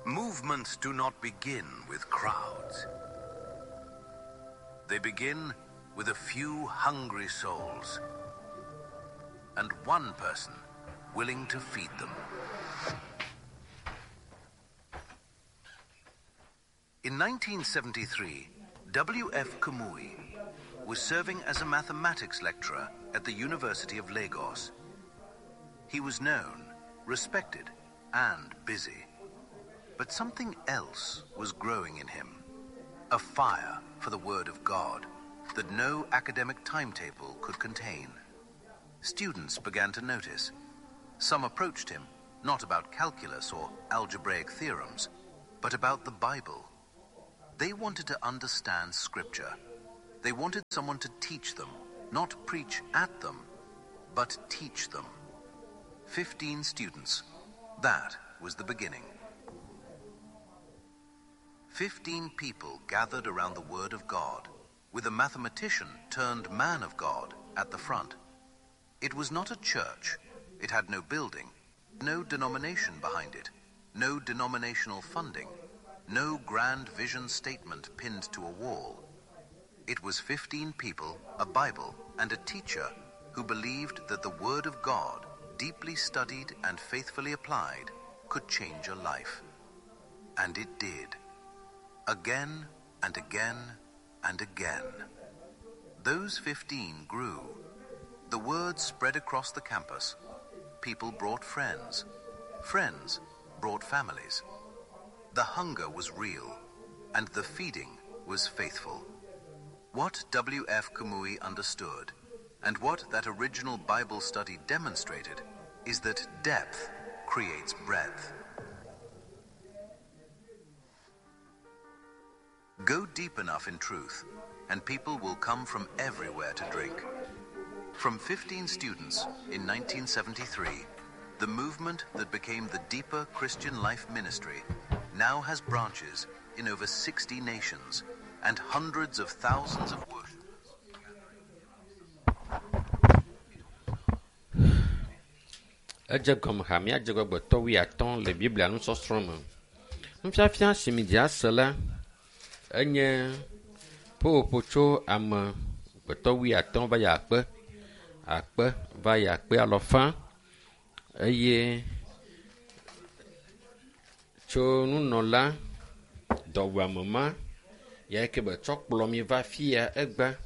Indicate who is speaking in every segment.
Speaker 1: Movements do not begin with crowds. They begin with a few hungry souls and one person willing to feed them. In 1973, W.F. Kumuyi was serving as a mathematics lecturer at the University of Lagos. He was known, respected, and busy. But something else was growing in him a fire for the Word of God that no academic timetable could contain. Students began to notice. Some approached him, not about calculus or algebraic theorems, but about the Bible. They wanted to understand Scripture. They wanted someone to teach them, not preach at them, but teach them. 15 students. That was the beginning. 15 people gathered around the Word of God, with a mathematician turned man of God at the front. It was not a church. It had no building, no denomination behind it, no denominational funding, no grand vision statement pinned to a wall. It was 15 people, a Bible, and a teacher who believed that the Word of God, deeply studied and faithfully applied, could change a life. And it did. Again and again and again. Those 15 grew. The word spread across the campus. People brought friends. Friends brought families. The hunger was real, and the feeding was faithful. What W.F. Kumuyi understood, and what that original Bible study demonstrated, is that depth creates breadth. Go deep enough in truth, and people will come from everywhere to drink. From 15 students in 1973, the movement that became the Deeper Christian Life Ministry now has branches in over 60 nations and hundreds of thousands of worshippers.
Speaker 2: Edze gɔme hamea dze gbɔgbɔtɔ wuiatɔ̃ le Biblia nusɔsrɔ̃ me. Nufiafia si mi dze ase la enye ƒoƒoƒo tso ame gbetɔ wuiatɔ̃ va yi akpe, akpe va yi akpe alɔfa eye tso nunɔla dɔwɔame ma ya ke be tsɔ kplɔ mi va fia egbe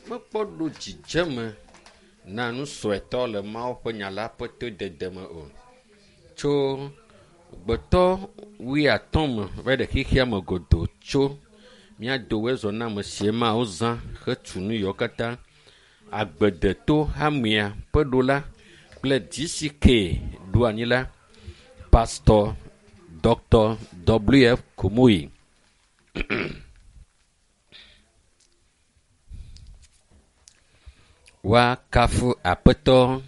Speaker 2: mekpɔ ɖo dzidzeme na nu suetɔ le Mawu ƒe nya la ƒe todede me o. Tso gbetɔ wuiatɔ̃ me va ɖe xexea me godoo tso mía dowe zɔ na ame sie Mawu zã hetu nu yiwo katã. Agbedeto hamea ƒe ɖola kple DCK ɖo anyi la, Pastor Dr. W.F. Kumuyi. Woakafu Aƒetɔ.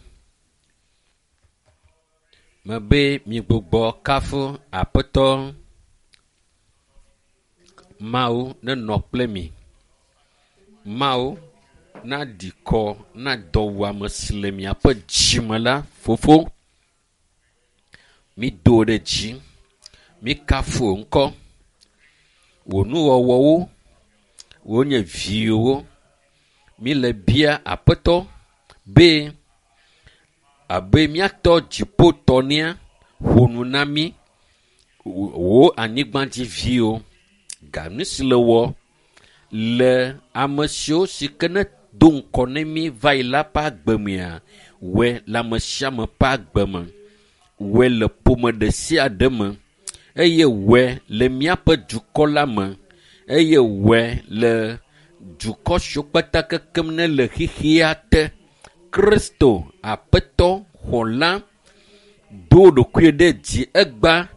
Speaker 2: Mebe migbugbɔ kafu Aƒetɔ. Mawu nenɔ kple mi. Mawu naɖi kɔ na dɔwuame si le miaƒe dzime la, Fofo. Mido ɖe dzi. Mikafu wò ŋkɔ. Wò nuwɔwɔwo, wonye viwòwo. Míle bia Aƒetɔ be abe míatɔ dziƒotɔ nea, ƒo nu na mí wò anyigbadziviwo. Ga nu si le wɔ le ame siwo si ke ne do ŋkɔ ne mí va yi la ƒe agbe mea, wɔe le ame sia ame ƒe agbe me. Wɔe le ƒome ɖe sia ɖe me eye wɔe le míaƒe dukɔ la me eye wɔe le dukɔ siwo kpata kekem ne le xexea te. Kristo Aƒetɔ xɔla do ɖokui ɖe dzi egba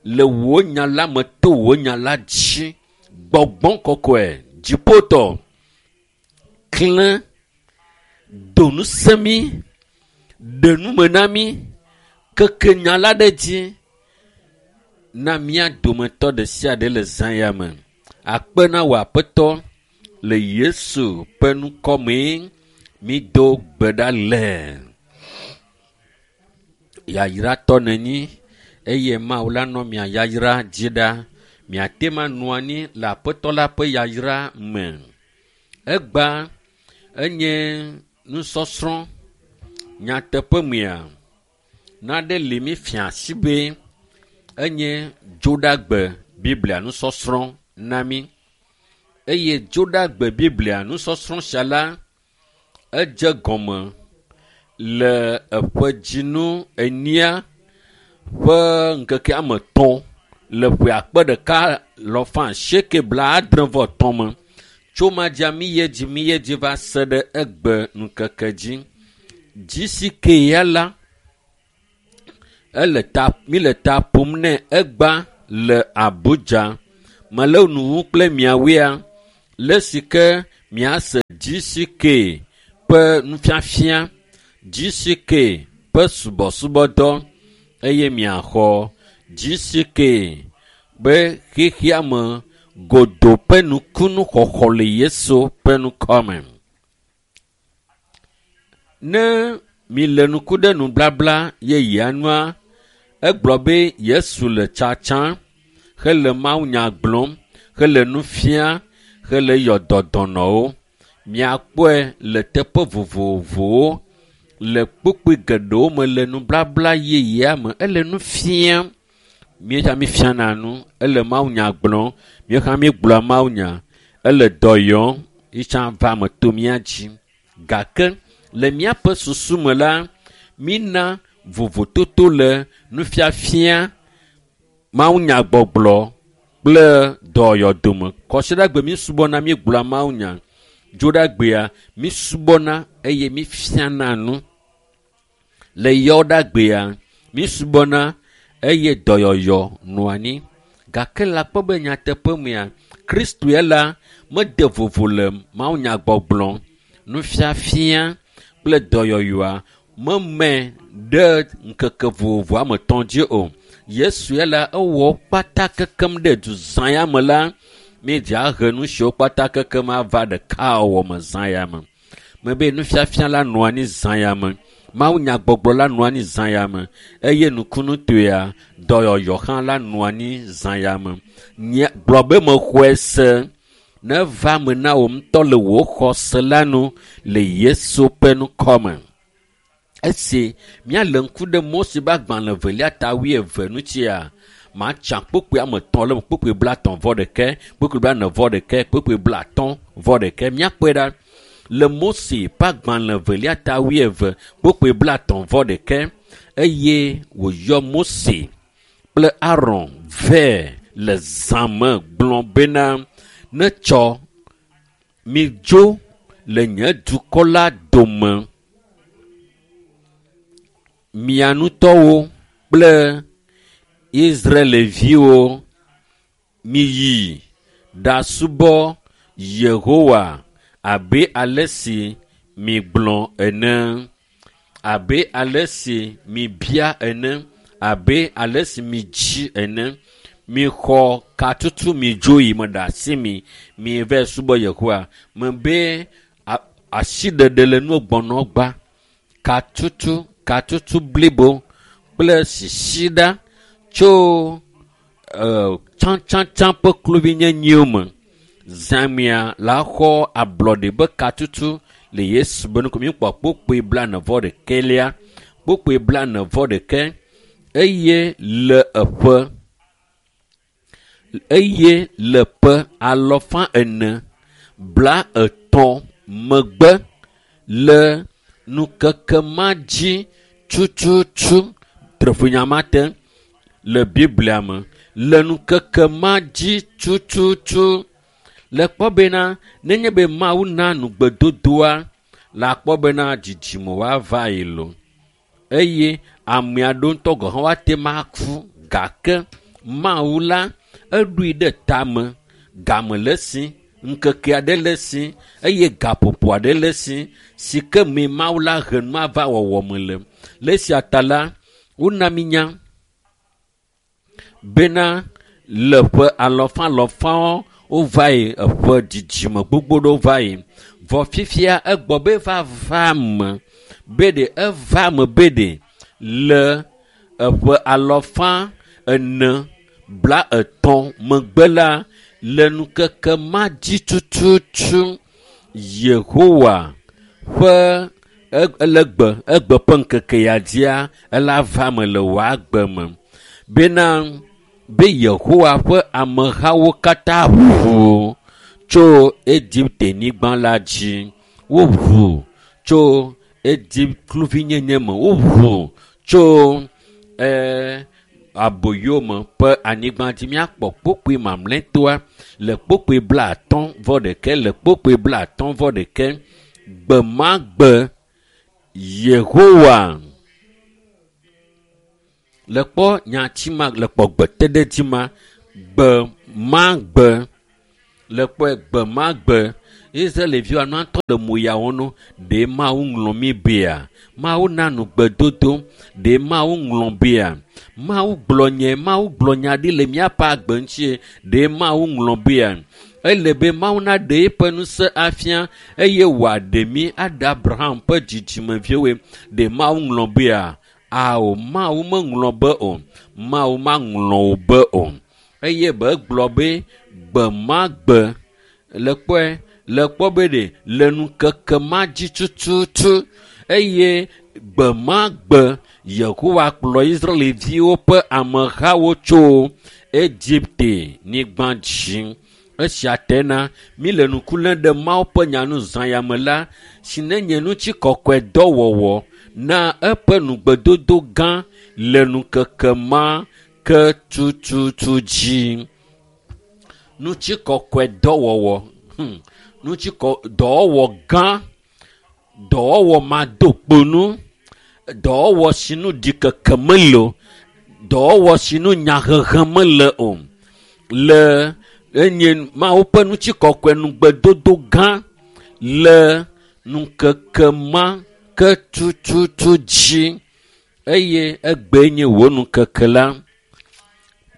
Speaker 2: le wò nya la me to wò nya la dzi. Gbɔgbɔ kɔkɔe dziƒotɔ klẽ do ŋusẽ mí, ɖe nume na mí, keke nya la ɖe dzi na mía dometɔ ɖe sia ɖe le zã ya me. Akpe na wò Aƒetɔ le Yesu ƒe ŋkɔ mee mído gbe ɖa le. Yayratɔ nènyi eye Mawu la nɔ mia yayra dzi ɖa. Miate ma nɔ anyi le Aƒetɔ la ƒe yayra me. Egba enye nusɔsrɔ̃ nyateƒe mea naɖe li mi fia si be enye dzoɖagbe Biblia nusɔsrɔ̃ na mi eye dzoɖagbe Biblia nusɔsrɔ̃ sia la edze gɔme le eƒe dzinu enyia ƒe ŋkeke ame etɔ̃ le ƒe akpe ɖeka lɔfa asieke bla adre vɔ etɔ̃ me. Tso ma dzia mi ye dzi mi ye dzi va se ɖe egbe ŋkeke dzi. Dzi si ke ya la ele ta mi le ta ƒom nɛ egba le Abuja. Mele nu wu kple miawoea le si ke miase GCK ƒe nufiafia, GCK ƒe subɔsubɔdɔ eye miaxɔ GCK be xexea me godo ƒe nukunu xɔxɔ le Yesu ƒe ŋkɔme. Ne mi le nuku ɖe nublabla yeyea nua, egblɔ be Yesu le tsatsam hele mawunya gblɔm, hele nu fiam, hele yɔ dɔ dɔnɔwo. Miakpɔe le teƒe vovovowo le kpukpui geɖewo me le nublabla yeyea me. Ele nu fiam. Míetsa mi fiana nu. Ele mawunya gblɔm. Míexã míegblɔa mawunya. Ele dɔ yɔm. Yitsã va eme to mía dzi. Gake le míaƒe susu me la, mína vovototo le nufiafia, mawunyagbɔgblɔ kple dɔyɔdome. Kɔsiɖagbe mísubɔna, míegblɔa mawunya. Dzoɖagbea, mísubɔna eye mífiana nu. Le yɔɖagbea, mísubɔna eye dɔyɔyɔ nɔa anyi. Gake le akpɔ be nyateƒe mea, Kristo ya la mede vovo le mawunyagbɔgblɔ, nufiafia kple dɔyɔyɔa meme ɖe ŋkeke vovovo ame etɔ̃ dzi o. Yesu ya la ewɔ kpata kekem ɖe du zã ya me la, míedze ahe nu siwo kpata kekem ava ɖekawɔwɔ me zã ya me. Mebe nufiafia la nɔ anyi zã ya me. Mawunyagbɔgblɔ la nɔ anyi zã ya me eye nukunutoea dɔyɔyɔ hã la nɔ anyi zã ya me. Nye gblɔ be mexɔe se neva me na wò ŋutɔ le wò xɔse la nu le Yesu ƒe ŋkɔme. Esi míale ŋku ɖe Mose ƒe agbalẽ evelia ta wuieve ŋutia, matsa kpukpui ame etɔ̃ le kpukpui blaetɔ̃ vɔ ɖeke, kpukpui blaene vɔ ɖeke, kpukpui blaatɔ̃ vɔ ɖeke. Míakpɔe ɖa le Mose ƒe agbalẽ evelia ta wuieve, kpukpui blaetɔ̃ vɔ ɖeke eye wòyɔ Mose kple Aron vɛ le zã me gblɔ bena, netsɔ midzo le nye dukɔ la dome mia ŋutɔwo kple Israelviwo miyi ɖasubɔ Yehowa abe ale si migblɔ ene, abe ale si mibia ene, abe ale si midzi ene. Mixɔ katutu midzo yi me ɖe asi mi, miva subɔ Yehowa. Mebe asiɖeɖe le nu gbɔnɔ gba, katutu, katutu blibo kple sisiɖa tso tsãtsãtsã ƒe kluvinyenyiwo me. Zãmea la xɔ ablɔɖe be katutu le Yesu be ŋkɔ. Míekpɔ kpukpui blaene vɔ ɖekɛlia, kpukpui blaene vɔ ɖeke eye le eƒe eye le ƒe alɔfa ene bla etɔ̃ megbe le ŋkeke ma dzi tututu treƒonya ma te le Biblia me. Le ŋkeke ma dzi tututu le kpɔ bena nenye be Mawu na nugbedodoa le akpɔ bena dzidzime woava yi lo eye ame aɖewo ŋutɔ gɔ̃ hã woate ŋu aku gake Mawu la eɖoe ɖe tame game le esi, ŋkeke aɖe le esi eye gaƒoƒo aɖe le esi si ke mee Mawu la he nua va wɔwɔ me le. Le esia ta la, wona mi nya bena le ƒe alɔfa alɔfawo wova yi eƒe dzidzime gbogbo ɖewo va yi. Vɔ fifia egbɔ be va va me be ɖe eva me be ɖe le Eƒe alɔfa ene bla etɔ̃ megbe la le nukeke ma dzi tututu Yehowa ƒe ele gbe egbe ƒe ŋkeke ya dzia ela va me le wò agbe me bena be Yehowa ƒe amehawo katã ʋu tso Egipte nyigba la dzi. Woʋu tso Egipte kluvinyenye me. Woʋu tso aboyome ƒe anyigba dzi. Míakpɔ kpokpoe mamlɛtɔa le kpokpoe 50 ɖeke le kpokpoe 51. Gbe ma gbe Yehowa le kpɔ nyati ma le kpɔ gbeteɖedzi ma gbe ma gbe le kpɔe gbe ma gbe Israelviwo anɔ atɔ le moyawo nu ɖe Mawu ŋlɔ mí bea Mawu na nugbedodo ɖe Mawu ŋlɔ bea Mawu gblɔ nye Mawu gblɔ nya ɖi le míaƒe agbe ŋuti ɖe Mawu ŋlɔ bea ele be Mawu naɖe eƒe ŋusẽ afia eye wòaɖe mí aɖe Abraham ƒe dzidzimeviwoe ɖe Mawu ŋlɔ bea ao Mawu meŋlɔ be o Mawu maŋlɔ wo be o eye be egblɔ be gbe ma gbe le kpɔe le kpɔ be ɖe le nukeke ma dzi tututu eye gbe ma gbe Yehowa kplɔ Israelviwo ƒe amehawo tso Egipte nyigba dzi. Esia tena mi le ŋku lém ɖe Mawu ƒe nyanu zã ya me la si ne nye ŋutikɔkɔe dɔwɔwɔ na eƒe nugbedodo gã le nukeke ma ke tututu dzi. Ŋutikɔkɔe dɔwɔwɔ ŋutikɔ dɔwɔwɔ gã dɔwɔwɔ madokponu dɔwɔwɔ si nu ɖikeke mele o dɔwɔwɔ si nu nyahehe mele o le enye Mawu ƒe ŋutikɔkɔe nugbedodo gã le nukeke ma ke tututu dzi eye egbe nye wò nukeke la.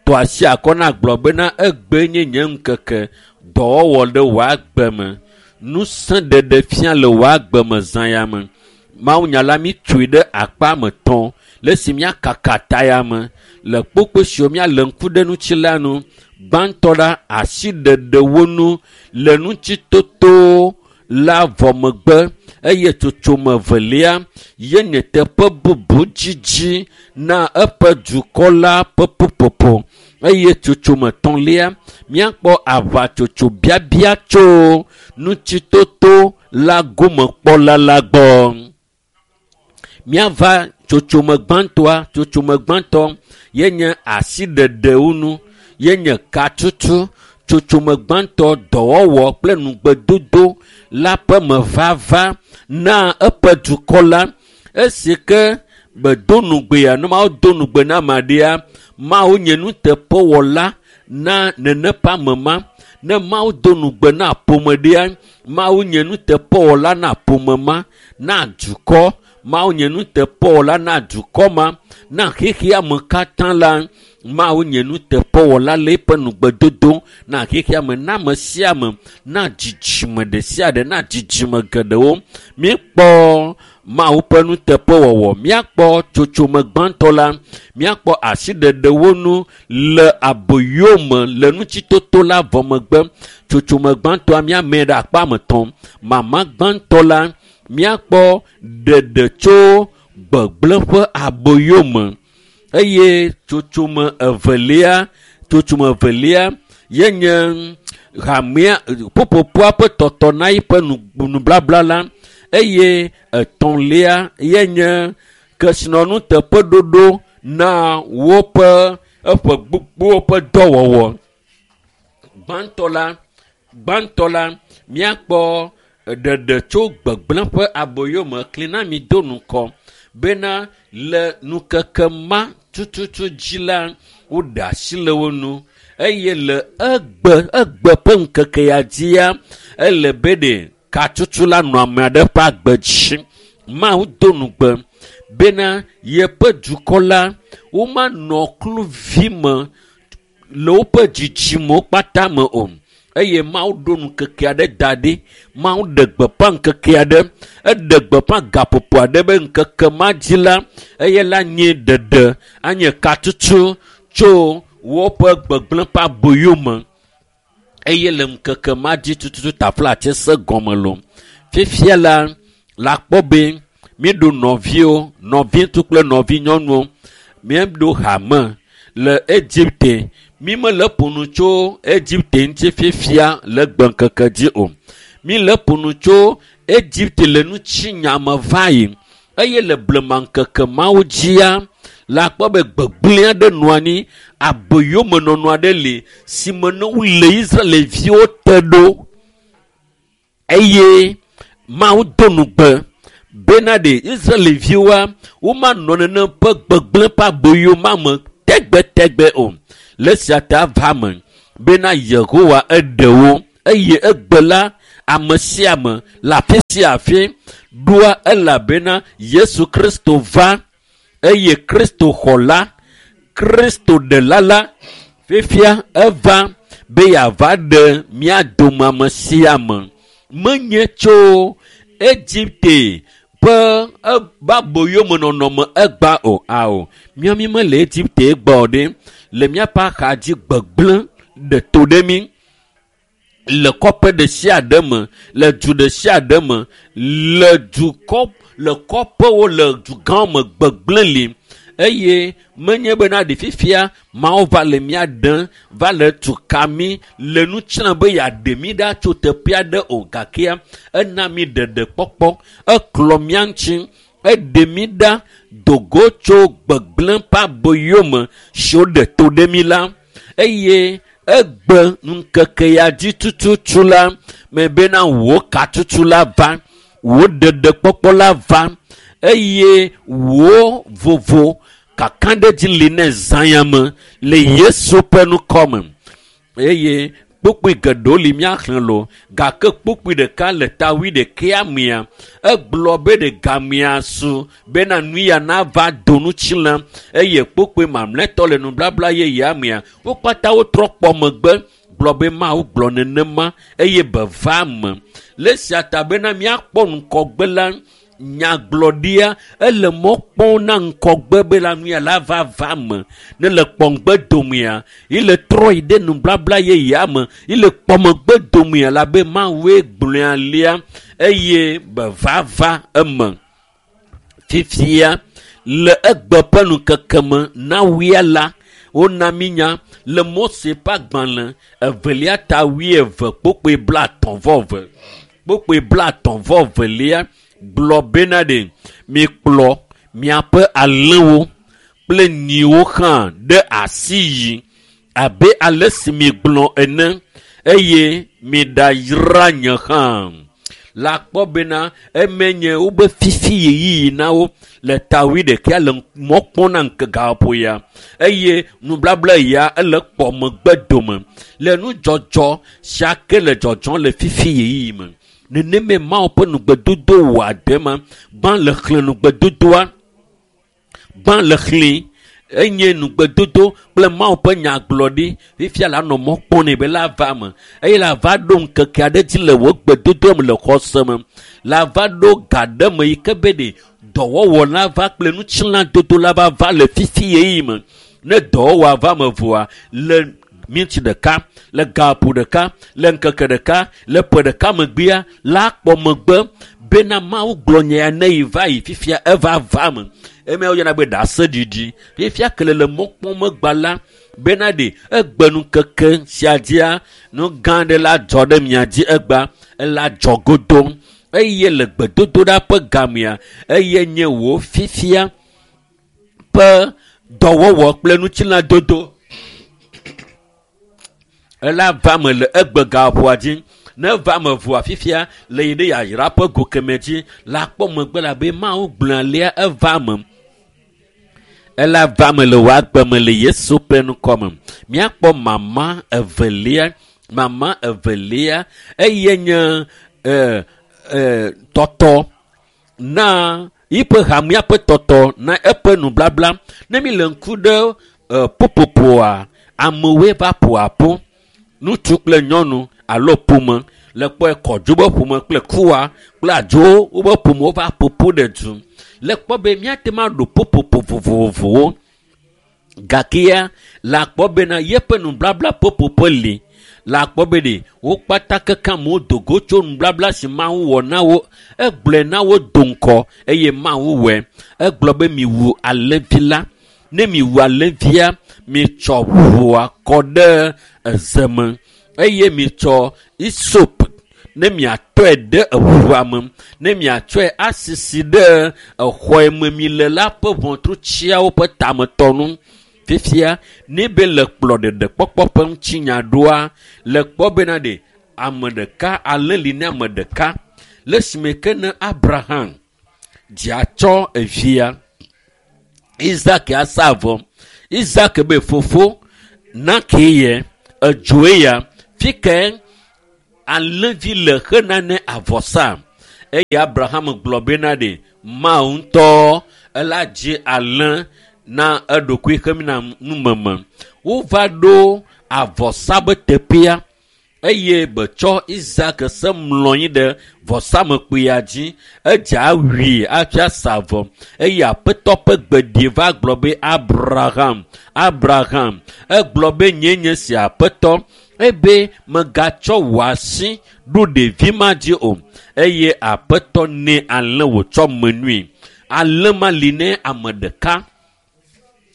Speaker 2: Tɔ asi akɔ na gblɔ bena egbe nye nye ŋkeke dɔwɔwɔ ɖe wò agbe me ŋusẽ ɖeɖe fia le wò agbe me zã ya me. Mawunya la mi tsoe ɖe akpa me tɔ̃ le esi míakaka ta ya me le kpokpoe siwo míale ŋku ɖe ŋuti la nu. Gbãtɔ la asiɖeɖe wo nu le ŋutitoto la vɔ megbe eye tsotsome evelia ye nye teƒe bubu dzidzi na eƒe dukɔ la ƒe ƒuƒoƒo eye tsotsome etɔ̃lia míakpɔ aʋatsotso biabia tso ŋutitoto la gomekpɔla la gbɔ. Míava tsotsome gbãtɔa tsotsome gbãtɔ ye nye asiɖeɖewo nu ye nye katutu tsotsome gbãtɔ dɔwɔwɔ kple nugbedodo la ƒe mevava na eƒe dukɔ la. Esi ke bedo nugbea ne Mawu do nugbe na ame aɖea Mawu nye nuteƒewɔla na nene ƒe ame ma. Ne Mawu do nugbe na ƒome ɖea Mawu nye nuteƒewɔla na ƒome ma na dukɔ Mawu nye nuteƒewɔla na dukɔ ma na xexea me katã la Mawu nye nuteƒewɔla le eƒe nugbedodo na xexea me na ame sia ame na dzidzime ɖe sia ɖe na dzidzime geɖewo. Míekpɔ Mawu ƒe nuteƒewɔwɔ míakpɔ tsotsome gbãtɔ la míakpɔ asiɖeɖewo nu le aboyome le ŋutitoto la vɔ megbe. Tsotsome gbãtɔa míamee ɖe akpa me tɔ̃. Mama gbãtɔ la míakpɔ ɖeɖe tso gbegblẽ ƒe aboyome eye tsotsome evelia ye nye hamea ƒuƒoƒoa ƒe tɔtɔ na eƒe nublabla la eye etɔ̃lia ye nye kesinɔnu teƒeɖoɖo na woƒe eƒe gbogbowo ƒe dɔwɔwɔ. Gbãtɔ la míakpɔ ɖeɖe tso gbegblẽ ƒe aboyome kli na mi do ŋkɔ bena le nukeke ma tututu dzi la woɖe asi le wo nu eye le egbe ƒe ŋkeke ya dzia ele be ɖe katutu la nɔ ame aɖe ƒe agbe dzi. Mawu do nugbe bena yeƒe dukɔ la womanɔ kluvi me le woƒe dzidzimewo kpata me o. Eye Mawu ɖo ŋkeke aɖe da ɖi. Mawu ɖe gbeƒã ŋkeke aɖe. Eɖe gbeƒã gaƒoƒo aɖe be ŋkeke ma dzi la, eye la nye ɖeɖe, anye katutu tso woƒe gbegblẽ ƒe aboyo me. Eye le ŋkeke ma dzi tututu taflatse se gɔme lo. Fifia la, la kpɔ be míeɖo nɔviwo, nɔviŋutsu kple nɔvinyɔnuwo. Míeɖo hame le Egipte. Mi mele ƒo nu tso Egipte ŋuti fifia le gbeŋkeke dzi o. Mi le ƒo nu tso Egipte le ŋutinya me va yi. Eye le blema ŋkeke mawo dzia, la kpɔ be gbegblẽ aɖe nɔ anyi, aboyomenɔnɔ aɖe li si me ne wole Israelviwo te ɖo. Eye Mawu do nugbe bena ɖe Israelviwoa, womanɔ nenem ƒe gbegblẽ ƒe aboyo ma me tegbetegbe o. Le esia ta va me bena Yehowa eɖe wo eye egbe la ame sia ame le afi sia afi ɖoa elabena Yesu Kristo va eye Kristo xɔla, Kristo ɖela la fifia eva be yeava ɖe mía dome ame sia ame. Menye tso Egipte ƒe aboyomenɔnɔme egba o ao. Míawo mi mele Egipte gbɔ o ɖe. Le míaƒe axadzi gbegblẽ ɖe to ɖe mí. Le kɔƒe ɖe sia ɖe me, le du ɖe sia ɖe me, le dukɔ, le kɔƒewo, le dugãwo me gbegblẽ li. Eye menye bena ɖe fifia Mawu va le mía ɖem, va le tu ka mí, le nu tsram be yeaɖe mí ɖa tso teƒe aɖe o. Gakea ena mí ɖeɖekpɔkpɔ, eklɔ mía ŋuti, eɖe mí ɖa dogo tso gbegblẽ ƒe aboyome si woɖe to ɖe mí la. Eye egbe ŋkeke ya dzi tututu la me bena wò katutu la va, wò ɖeɖekpɔkpɔ la va, eye wò vovo kakaɖedzi li ne zã me le Yesu ƒe ŋkɔ me. Eye kpukpui geɖewo li míaxlẽ lo, gake kpukpui ɖeka le ta wuiɖekɛa mea, egblɔ be ɖe gamea su bena nu ya nava do ŋutilã. Eye kpukpui mamlɛtɔ le nubabla yeyea mea, wo katã wotrɔ kpɔ megbe gblɔ be Mawu gblɔ nenema eye be va me. Le esia ta bena míakpɔ ŋgɔgbe la, nyagblɔɖia ele mɔ kpɔm na ŋgɔgbe be la nu ya la va va me. Ne le kpɔ ŋgbe domea, ile trɔ yi ɖe nubabla yeyea me, ile kpɔ megbe domea la be Mawue gblɔe alea eye be va va eme. Fifia le egbe ƒe ŋkeke me na wuia la, wona mí nya le Mose ƒe agbalẽ evelia ta wuieve kpukpui blaetɔ̃ vɔ eve. Kpukpui blaetɔ̃ vɔ evelia gblɔ bena ɖe mikplɔ miaƒe alẽwo kple nyiwo hã ɖe asi yi abe ale si migblɔ ene eye miɖayra nye hã. La kpɔ bena eme nye wobe fifi ɣeyiɣi na wo le ta wuiɖekɛa le mɔ kpɔm na ŋkeke gaƒoƒo ya eye nubabla ya ele kpɔ megbe dome le nudzɔdzɔ sia ke le dzɔdzɔm le fifi ɣeyiɣi me. Neneme Mawu ƒe nugbedodo wɔ ade ma, gbã le xlẽ nugbedodoa, gbã le xlẽ enye nugbedodo kple Mawu ƒe nyagblɔɖi. Fifia la nɔ mɔ kpɔm nɛ be la va me eye la va ɖo ŋkeke aɖe dzi le wò gbedodoa me le xɔse me. La va ɖo ga ɖe me yi ke be ɖe dɔwɔwɔ la va kple ŋutilãdodo la va va le fifi ɣeyiɣi me. Ne dɔwɔwɔa va me vɔa, le minti ɖeka, le gaƒo ɖeka, le ŋkeke ɖeka, le ƒe ɖeka megbea, la kpɔ megbe bena Mawu gblɔ nya ya ne yi va yi fifia eva va me. Eme woyɔna be ɖaseɖiɖi. Fifia ke le le mɔ kpɔm megba la, bena ɖe egbe ŋkeke sia dzia, nu gã aɖe la dzɔ ɖe mia dzi egba, ela dzɔ godoo. Eye le gbedodoɖa ƒe gamea, eye nye wò fifia ƒe dɔwɔwɔ kple ŋutilãdodo ela va me le egbe gaƒoa dzi. Ne va me vɔa fifia le yi ɖe yayra ƒe go keme dzi la kpɔ megbe la be Mawu gblɔ alea eva me. Ela va me le wò agbe me le Yesu ƒe ŋkɔ me. Míakpɔ mama evelia, mama evelia eye nye tɔtɔ na yiƒe hamea ƒe tɔtɔ na eƒe nublabla. Ne mi le ŋku ɖe ƒuƒoƒoa, amewoe va ƒo aƒu. Ŋutsu kple nyɔnu, alo ƒome le kpɔe kɔdzo be ƒome kple kuwa kple adzo wobe ƒome wova ƒoƒu ɖe du le kpɔ be míate ŋu aɖo ƒuƒoƒo vovovowo gakea le akpɔ bena yeƒe nublabla ƒoƒoƒo li le akpɔ be ɖe wo kpata keke amewo do go tso nublabla si Mawu wɔ na wo egblɔe na wo do ŋkɔ eye Mawu wɔe egblɔ be miwu alẽvi la ne miwu alẽvia mitsɔ ʋua kɔ ɖe eze me eye mitsɔ isop ne miatɔe ɖe eʋua me ne miatsɔe asisi ɖe exɔ yi me mi le la ƒe ʋɔtrutsiawo ƒe tametɔnu fifia ne be le kplɔ ɖeɖekpɔkpɔ ƒe ŋutinya ɖoa le kpɔ bena ɖe ame ɖeka alẽ li ne ame ɖeka le esime ke ne Abraham dziatsɔ evia Isak asa avɔ Isak be fofo nake ye edzoe ya fi ke alẽvi le hena ne avɔsa eye Abraham gblɔ bena ɖe Mawu ŋutɔ ela dzi alẽ na eɖokui hemina numeme wova ɖo avɔsa be teƒea eye betsɔ Isak se mlɔ anyi ɖe vɔsamekpuia dzi edze awui hafi asa avɔ eye aƒetɔ ƒe gbeɖi va gblɔ be Abraham Abraham egblɔ be nye nye si aƒetɔ ebe megatsɔ wò asi ɖo ɖevi ma dzi o eye aƒetɔ nɛ alẽ wòtsɔ menui alẽ ma li ne ame ɖeka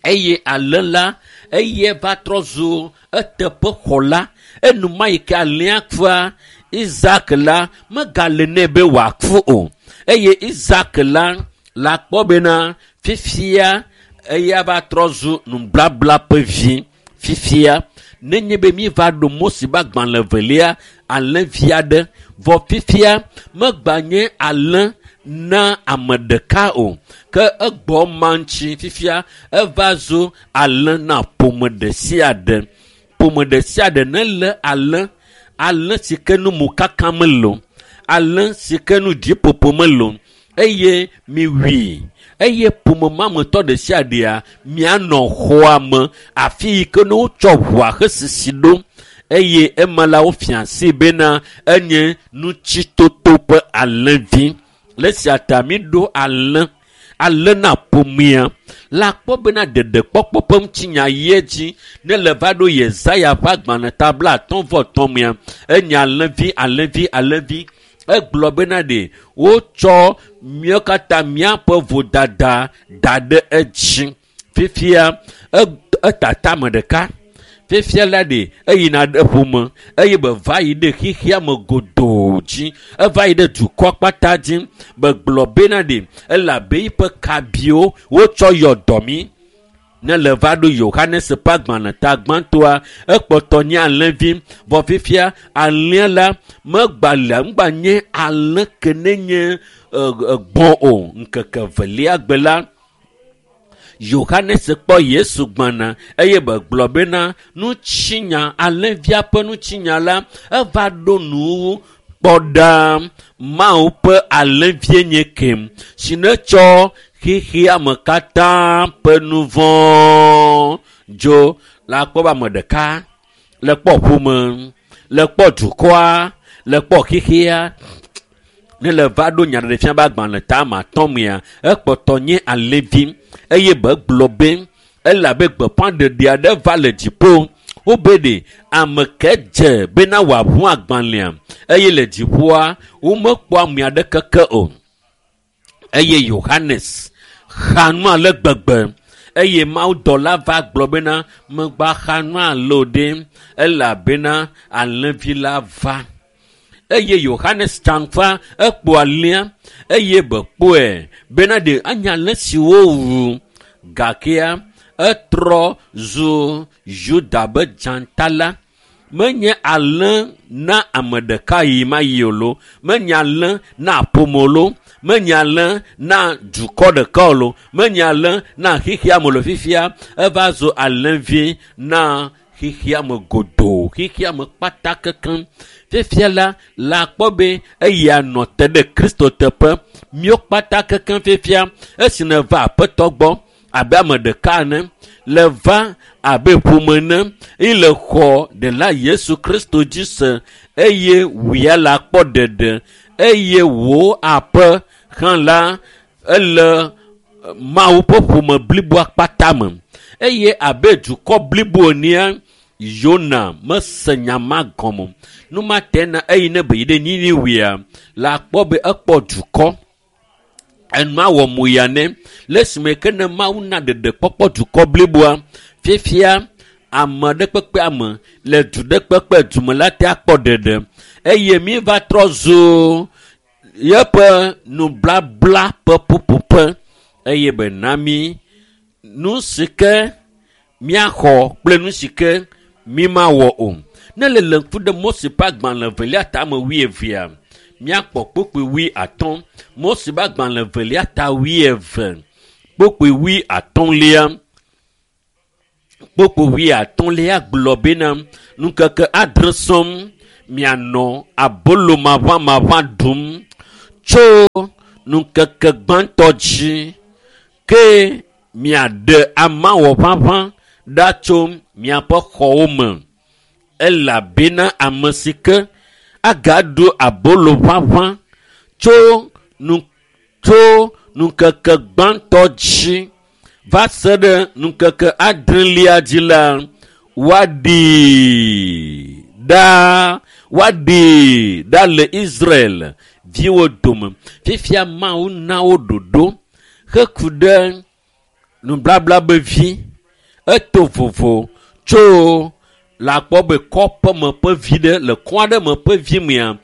Speaker 2: eye alẽ la eye va trɔ zu eteƒe xɔla enuma yi ke alẽa kua Isak la megale nɛ be wòaku o eye Isak la la kpɔ bena fifia eya va trɔ zu nublabla ƒe vi fifia nenye be mi va ɖo Mose ƒe agbalẽ velia alẽvi aɖe vɔ fifia megba nye alẽ na ame ɖeka o ke egbɔ ma ŋuti fifia eva zu alẽ na ƒome ɖe sia ɖe ƒome ɖe sia ɖe ne lé alẽ alẽ si ke nu mokaka mele o alẽ si ke nu dziƒoƒo mele o eye miwui eye ƒome ma me tɔ ɖe sia ɖea mianɔ xɔa me afi yi ke ne wotsɔ ʋua hesisi ɖo eye ema la wofia asi bena enye nutsitoto ƒe alẽvi le esia ta mi ɖo alẽ alẽ na ƒomea la kpɔ bena ɖeɖekpɔkpɔ ƒe ŋutinya yi edzi ne le va ɖo Yesaya ƒe agbalẽ ta 50 mea enye alẽvi alẽvi alẽvi egblɔ bena ɖe wotsɔ míawo katã míaƒe vodada da ɖe edzi fifia etata ame ɖeka fifia la ɖe eyina ɖe ƒome eye be va yi ɖe xexea me godoo dzi eva yi ɖe dukɔ kpata dzi be gblɔ bena ɖe elabe yiƒe kabiwo wotsɔ yɔ dɔ mi ne le va ɖo Yohanes ƒe agbalẽ ta gbãtɔa ekpɔtɔ nye alẽvi vɔ fifia alẽ la megba le ŋgba nye alẽ ke ne nye gbɔ̃ o ŋkeke velia gbe la Yohanes kpɔ Yesu gbɔna eye be gblɔ bena nutsinya alẽvia ƒe nutsinya la eva ɖo nuwuwu kpɔ ɖa Mawu ƒe alẽvie nye kem si ne tsɔ xexea me katã ƒe nu vɔ̃ dzo la kpɔ be ame ɖeka le kpɔ ƒome le kpɔ dukɔa le kpɔ xexea ne le va ɖo nyaɖeɖefia be agbalẽ ta ame atɔ̃ mea ekpɔtɔ nye alẽvi eye be gblɔ be elabe gbeƒãɖeɖe aɖe va le dziƒo wobe ɖe ame ke dze bena wòaʋu agbalẽa eye le dziƒoa womekpɔ ame aɖeke ke o eye Yohanes xa nu ale gbegbe eye mawudɔla va gblɔ bena megba xa nu ale o ɖe elabena alẽvi la va eye Yohanes tsaŋfa ekpɔ alẽa eye be kpɔe bena ɖe anye alẽ si wowu gakea etrɔ zu Yuda be dzata la menye alẽ na ame ɖeka yi ma yi o lo menye alẽ na ƒome lo menye alẽ na dukɔ ɖeka o lo menye alẽ na xexea me lo fifia eva zu alẽvi na xexea me godoo xexea me kpata kekeŋ fifia la la kpɔ be eya nɔ te ɖe Kristo teƒe míawo kpata kekeŋ fifia esi ne va aƒetɔ gbɔ abe ame ɖeka ene, le va abe ƒome ene, eye le xɔ ɖela Yesu Kristo dzi se, eye wòya la kpɔ ɖeɖe, eye wò aƒe hã la ele Mawu ƒe ƒome bliboa kpata me. Eye abe dukɔ blibo enea, Yona mese nya ma gɔme o. Nu ma te na eyi ne be yi ɖe Niniwea, la kpɔ be ekpɔ dukɔ. Enua wɔ mo ya nɛ. Le esime ke ne Mawu na ɖeɖekpɔkpɔ dukɔ bliboa, fifia ame ɖe kpekpe ame le du ɖe kpekpe dume la te akpɔ ɖeɖe. Eye mi va trɔ zu yeƒe nublabla ƒe ƒuƒoƒe. Eye be na mi nu si ke míaxɔ kple nu si ke mi mawɔ o. Ne le le ŋku ɖe Mose ƒe agbalẽ evelia tame wuievea, míakpɔ kpukpui 50. Mose ƒe agbalẽ evelia ta 20, kpukpui 50. Kpukpui 50 gblɔ bena, ŋkeke 7 sɔŋ mianɔ abolo maʋamaʋã ɖum tso ŋkeke gbãtɔ dzi, ke miaɖe amawɔ ʋaʋã ɖa tso miaƒe xɔwo me, elabena ame si ke agaɖu abolo ʋaʋã tso ŋkeke gbãtɔ dzi va se ɖe ŋkeke 7lia dzi la, woaɖee ɖa le Israel viwo dome. Fifia Mawu na wo ɖoɖo heku ɖe nublabla be vi. Eto vovo tso le akpɔ be kɔƒe me ƒe vi ɖe le kɔ aɖe me ƒe vi mea,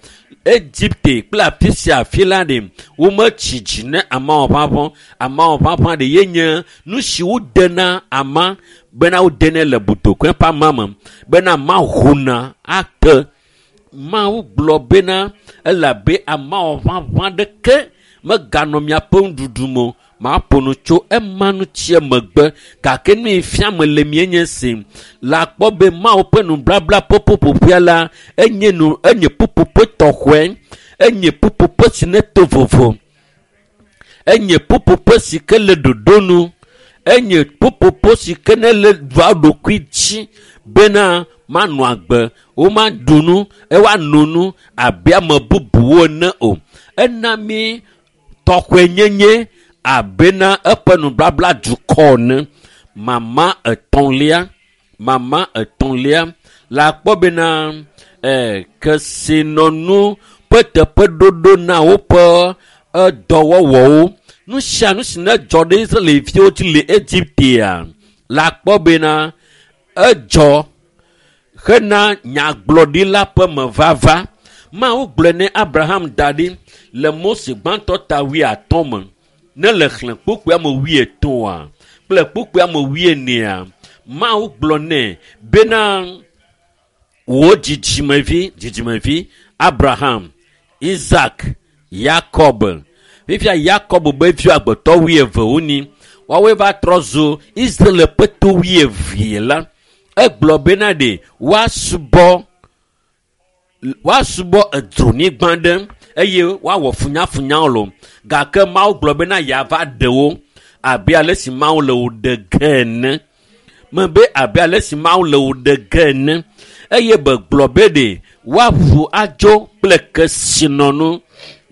Speaker 2: Egipte kple afi sia afi la ɖe wometsi dzi ne amawɔ ʋaʋã. Amawɔ ʋaʋã ɖe ye nye nu si wodena ama bena wodenɛ le botokoe ƒe ama me bena ama hona ake. Mawu gblɔ bena elabe amawɔ ʋaʋã ɖeke meganɔ miaƒe nuɖuɖu me o. Maƒo nu tso ema ŋuti megbe, gake nu yi fia me le mie nye si le akpɔ be Mawu ƒe nublabla ƒe ƒuƒoƒea la, enye nu, enye ƒuƒoƒe tɔxɔe, enye ƒuƒoƒe si ne to vovo, enye ƒuƒoƒe si ke le ɖoɖo nu, enye ƒuƒoƒe si ke ne le dua ɖokui dzi bena manɔ agbe, womaɖu nu, woano nu abe ame bubuwo ene o. Ena mi tɔxɔenyenye abena eƒe nublabla dukɔ ene. Mama etɔ̃lia la akpɔ bena kesinɔnu ƒe teƒeɖoɖo na woƒe dɔwɔwɔwo. Nu sia nu si ne dzɔ ɖe Israelviwo dzi le Egiptea, la akpɔ bena edzɔ hena nyagblɔɖila ƒe mevava. Mawu gblɔe ne Abraham da ɖi le Mose gbãtɔ ta 50 me. Ne le xlẽ kpukpui ame 80 kple kpukpui ame 40, Mawu gblɔ nɛ bena wò dzidzimevi Abraham, Isaac, Yakob. Fifia Yakob be viwo agbetɔ 20 wonyi. Woawoe va trɔ zu Israel ƒe to 20 la. Egblɔ bena ɖe woasubɔ edzronyigba ɖe eye woawɔ funyafunyawo lo. Gake Mawu gblɔ bena yeava ɖe wo abe ale si Mawu le wo ɖe ge ene. Mebe abe ale si Mawu le wo ɖe ge ene. Eye be gblɔ be ɖe woaʋu adzo kple kesinɔnu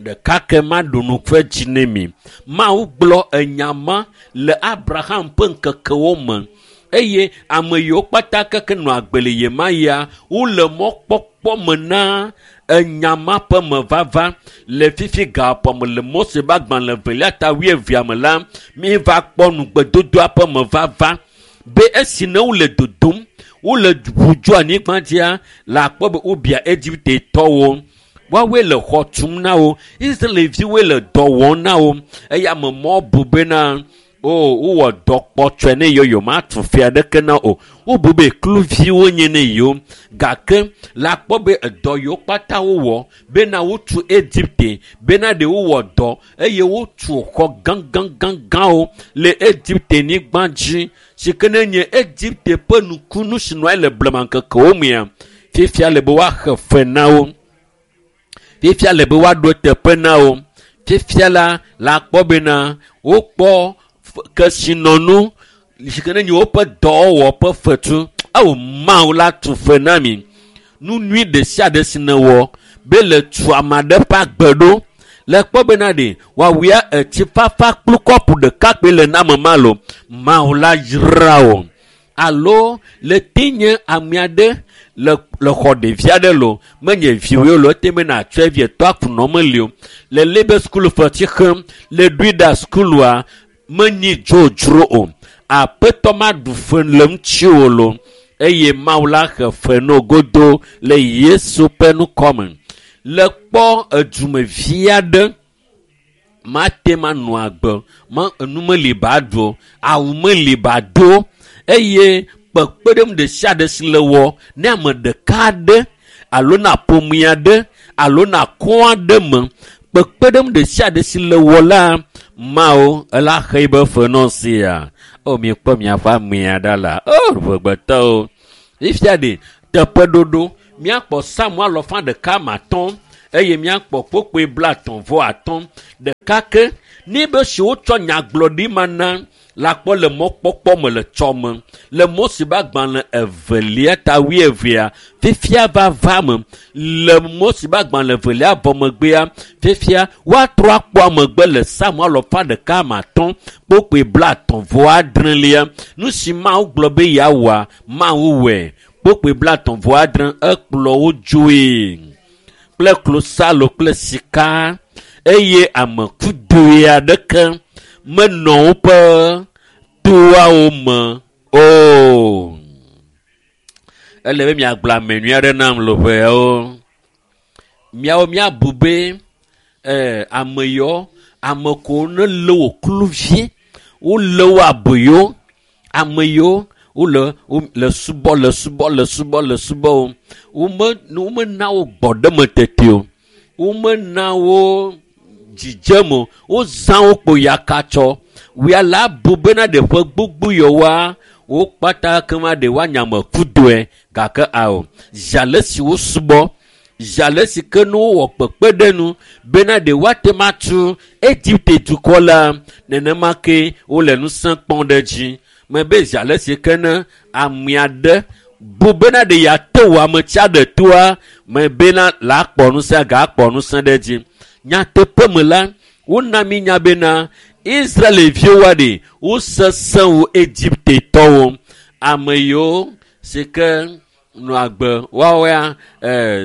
Speaker 2: ɖeka ke maɖu nu ƒe dzi ne mi. Mawu gblɔ enya ma le Abraham ƒe ŋkekewo me. Eye ame yiwo kpata keke nɔ agbe le yemaya, wole mɔkpɔkpɔ me na enya ma ƒe mevava. Le fifi gaƒoƒo me le Mose ƒe agbalẽ evelia ta 20 me la, mi va kpɔ nugbedodoa ƒe mevava be esi ne wole dodom, wole ʋu dzo anyigba dzia, le akpɔ be wobia Egiptetɔwo. Woawoe le xɔ tum na wo, Israelviwoe le dɔ wɔm na wo. Eye ame mɔ bu bena o wowɔ dɔ kpɔtsɔe ne yewo, yewo matu fia ɖeke na o. Wobu be kluviwo nye ne yewo. Gake le akpɔ be edɔ yiwo kpata wowɔ bena wotu Egipte, bena ɖe wowɔ dɔ eye wotu xɔ gãgãgãgãwo le Egipte nyigba dzi si ke ne nye Egipte ƒe nukunu si nɔ anyi le blema ŋkekewo mea, fifia le be woaxe fe na wo. Fifia le be woaɖo teƒe na wo. Fifia la, le akpɔ bena wokpɔ Kesinɔnu si ke ne nye woƒe dɔwɔwɔ ƒe fetu. Eo Mawu la tu fe na mi. Nu nyui ɖe sia ɖe si nèwɔ be le tu ame aɖe ƒe agbe ɖo. Le kpɔ bena ɖe woawia etsi fafa kplu kɔpu ɖeka kpe le na me ma lo. Mawu la yra wò. Alo le te nye ame aɖe le le xɔ ɖevi aɖe lo menye viwoe lo ete be natsɔe vie tɔ akunɔ meli o. Le lebe sukulu fetsi xem le ɖui ɖa sukulua menyi dzodzro o. Aƒetɔ maɖu fe le ŋutiwò lo eye Mawu la xe fe no godo le Yesu ƒe ŋkɔme. Le kpɔ edumevi aɖe mate ma nɔ agbe ma enu meli ba ɖu o, awu meli ba do eye kpekpeɖeŋu ɖe sia ɖe si le wɔ ne ame ɖeka aɖe alo na ƒome aɖe alo na kɔ aɖe me kpekpeɖeŋu ɖe sia ɖe si le wɔ la Mawu ela xe yibe fe nɔ sia. O miekpɔ miaƒe amea ɖa la o ʋegbetɔwo. Fifia ɖe teƒeɖoɖo míakpɔ Psalm alɔfa ɖeka ma atɔ̃ eye míakpɔ kpokpoe 35 ɖeka ke ne be si wotsɔ nyagblɔɖi ma na la kpɔ le mɔkpɔkpɔ me le tsɔme le Mose ƒe agbalẽ evelia ta wuievea fifia vava me le Mose ƒe agbalẽ evelia vɔ megbea fifia woatrɔ akpɔ amegbe le Psalm alɔfa ɖeka ma atɔ̃ kpokpoe 36 nu si Mawu gblɔ be yeawɔa Mawu wɔe kpokpoe 36 ekplɔ wo dzoe kple klosalo kple sika eye ame kudoe aɖeke menɔ woƒe toawo me o. Ele be miagblɔ ame nyui aɖe nam le ƒeawo. Miawo miabu be ame yɔ ame ko ne lé wo kluvie wolé wo aboyo ame yiwo wole le subɔ le subɔ le subɔ le subɔ wo womena wo gbɔɖeme tete o womena wo dzidzeme o wozã wo kpo yakatsɔ wia la bu bena ɖe ƒe gbogbo yewoa wo kpata kema ɖe woanya me kudoe gake ao zi ale si wo subɔ zi ale si ke ne wowɔ kpekpeɖeŋu bena ɖe woate ma tu Egipte dukɔ la nenema ke wole ŋusẽ kpɔm ɖe dzi mebe zi ale si ke ne ame aɖe bu bena ɖe yeate wò ame tsia ɖe toa mebena la kpɔ ŋusẽ gakpɔ ŋusẽ ɖe dzi. Nyateƒe me la wona mi nya bena Israelviwoa ɖe wosesẽ wu Egiptetɔwo ame yiwo si ke nɔ agbe woawoa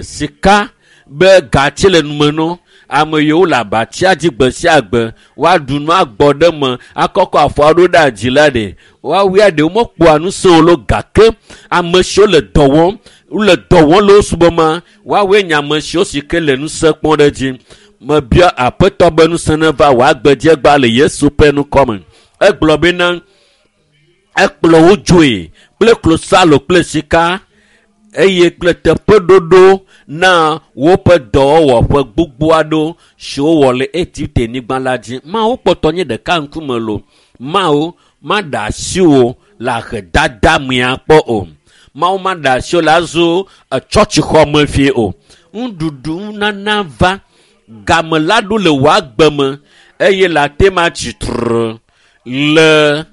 Speaker 2: sika be gatsi le nume no ame yiwo le abatsia dzi gbe sia gbe woaɖu nu agbɔ ɖe me akɔkɔ afɔ aɖo ɖe adzi la ɖe woawoa ɖe womekpɔa ŋusẽ o lo gake ame siwo le dɔ wɔm wole dɔ wɔm le wo subɔ ma woawoe nye ame siwo si ke le ŋusẽ kpɔm ɖe dzi. Mebia Aƒetɔ be ŋusẽ neva wò agbedzi egba le Yesu ƒe ŋkɔme. Egblɔ bena ekplɔ wo dzoe kple klosalo kple sika eye kple teƒeɖoɖo na woƒe dɔwɔwɔ ƒe gbogbo aɖewo siwo wɔ le Egipte nyigba la dzi. Mawu kpɔtɔ nye ɖeka ŋkume lo. Mawu maɖe asi wò le ahedada mea kpɔ o. Mawu maɖe asi wò le azu tsɔtsixɔme fie o. Nuɖuɖu nana va game la ɖo le wò agbe me eye le ate ma tsi trɔ le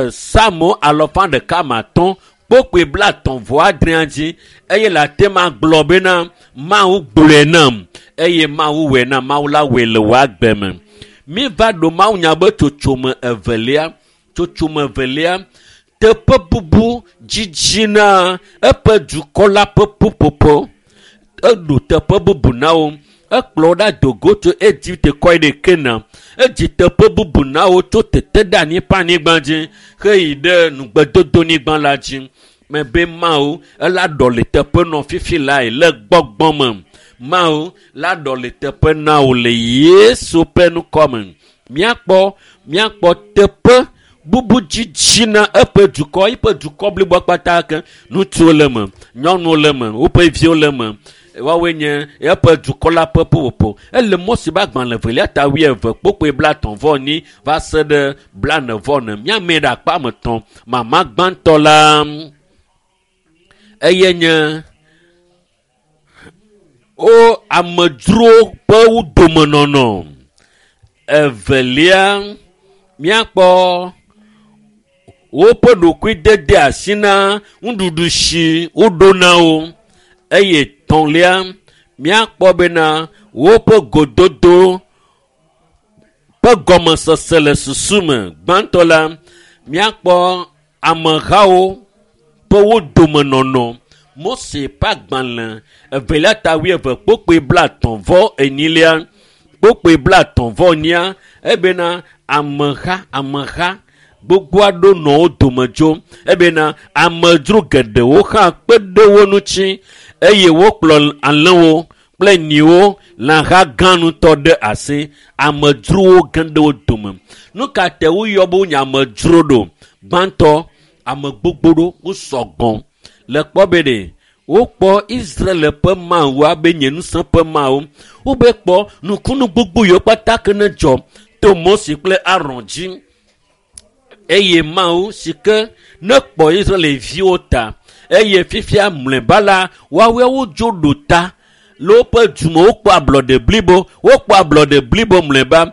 Speaker 2: Psalm alɔfa ɖeka ma atɔ̃ kpokpoe 36 dzi eye le ate ma gblɔ bena Mawu gblɔe nam eye Mawu wɔe nam Mawu la wɔe le wò agbe me. Mi va ɖo Mawu nya be tsotsome evelia tsotsome evelia teƒe bubu dzidzi na eƒe dukɔ la ƒe ƒuƒoƒo eɖo teƒe bubu na wo ekplɔ wo ɖa do go tso Egipte kɔ yi ɖe Kanaan edzi teƒe bubu na wo tso teteɖeanyi ƒe anyigba dzi heyi ɖe nugbedodonyigba la dzi mebe Mawu ela ɖɔli teƒe nɔ fifi lae le gbɔgbɔ me Mawu la ɖɔli teƒe na wò le Yesu ƒe ŋkɔme. Míakpɔ teƒe bubu dzidzi na eƒe dukɔ eƒe dukɔ bliboa kpata ke ŋutsuwo le eme nyɔnuwo le eme woƒe viwo le eme woawoe nye eƒe dukɔ la ƒe ƒuƒoƒo. Ele Mose ƒe agbalẽ evelia ta 20 kpokpoe 34 va se ɖe 44 míame ɖe akpa me tɔ̃ mama gbãtɔ la eye nye wo amedzrowo ƒe wo domenɔnɔ evelia Míakpɔ woƒe ɖokui dede asi na nuɖuɖu si woɖo na wo eye tɔ̃lia míakpɔ bena woƒe gododo ƒe gɔmesese le susu me. Gbãtɔ la, míakpɔ amehawo ƒe wo domenɔnɔ. Mose ƒe agbalẽ evelia ta wuieve kpokpoe blaetɔ̃ vɔ enyilia kpokpoe blaetɔ̃ vɔ enyia ebena ameha ameha gbogbo aɖewo nɔ wo dome tso ebena amedzro geɖewo hã kpe ɖe wo ŋuti eye wokplɔ alẽwo kple nyiwo lãha gã ŋutɔ ɖe asi. Amedzrowo ge ɖe wo dome. Nu ka te woyɔ be wonye amedzro ɖo? Gbãtɔ, ame gbogbo ɖo wosɔ gbɔ. Le kpɔ be ɖe wokpɔ Israel ƒe Mawu abe nye ŋusẽ ƒe Mawu. Wobe kpɔ nukunu gbogbo yiwo kpata ke ne dzɔ to Mose kple Aron dzi. Eye Mawu si ke ne kpɔ Israelviwo ta eye fifia mlɔeba la woawoe wodzo ɖo ta le woƒe dume wokpɔ ablɔɖe blibo wokpɔ ablɔɖe blibo mlɔeba.